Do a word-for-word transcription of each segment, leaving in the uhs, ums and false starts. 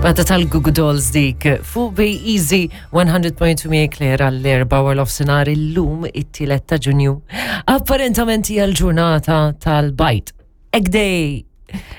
Bata tal-Goo Goo Dolls dik fuq Bay Easy one hundred point two miegħek Claire għall-erbgħa wara nofsinhar illum, it-tielet ta' Ġunju. Apparentament hija l-ġurnata tal-bajd. Egg Day!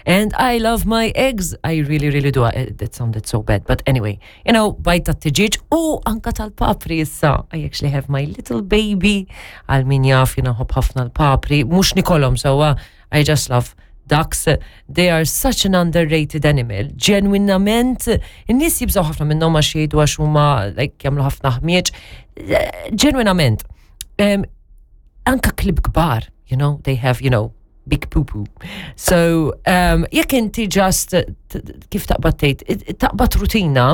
And I love my eggs. I really, really do. Uh, That sounded so bad. But anyway, you know, bajd tat-tiġieġ u anka tal-papri issa. I actually have my little baby. Għal min jaf, jiena nħobb ħafna l-papri. Mhux nikolhom sewwa. I just love ducks. They are such an underrated animal. Ġenwinament, in-nies jibżaw ħafna minnhom għax jgħidu għax huma like jagħmlu ħafna ħmieġ. Ġenwinament. Um, anka klieb kbar, you know, they have, you know, big poo-poo. So, um, jekk inti just, t- kif taqbad tgħid, taqbad rutina,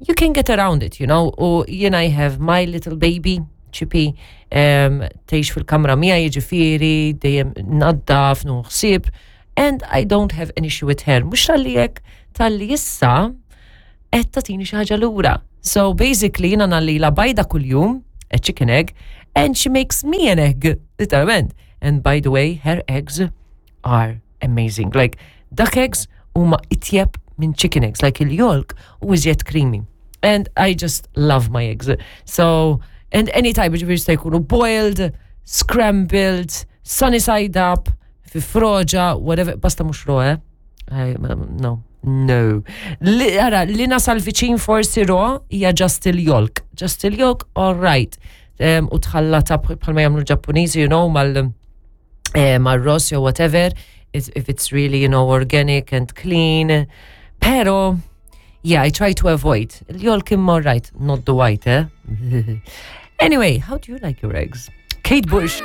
you can get around it, you know, u jien I have my little baby, Chippy, um, tgħix fil-kamra miegħi, jiġifieri, dejjem naddaf, nuħsib, and I don't have an issue with her. Mhux talli hekk, talli issa qed tagħtini xi ħaġa lura. So basically jiena ngħallilha bajda kuljum, a chicken egg, and she makes me an egg, literalment. And by the way, her eggs are amazing. Like, duck eggs huma itjeb minn chicken eggs, like il-yolk u iżjed creamy. And I just love my eggs. So, and any type, jiġifieri jista' jkunu boiled, scrambled, sunny side up, fi froġa, whatever, basta mhux raw, eh? I, no, no. Li, ara, li nasal viċin forsi raw hija just il-yolk. Just il-yolk, all right. Um, u tħallata bħalma jagħmlu Ġappuniżi, you know, mal eh, mal-ross or whatever, if, if it's really, you know, organic and clean. Pero, yeah, I try to avoid. Il-yolk imma all right, not the white, eh? Anyway, how do you like your eggs? Kate Bush.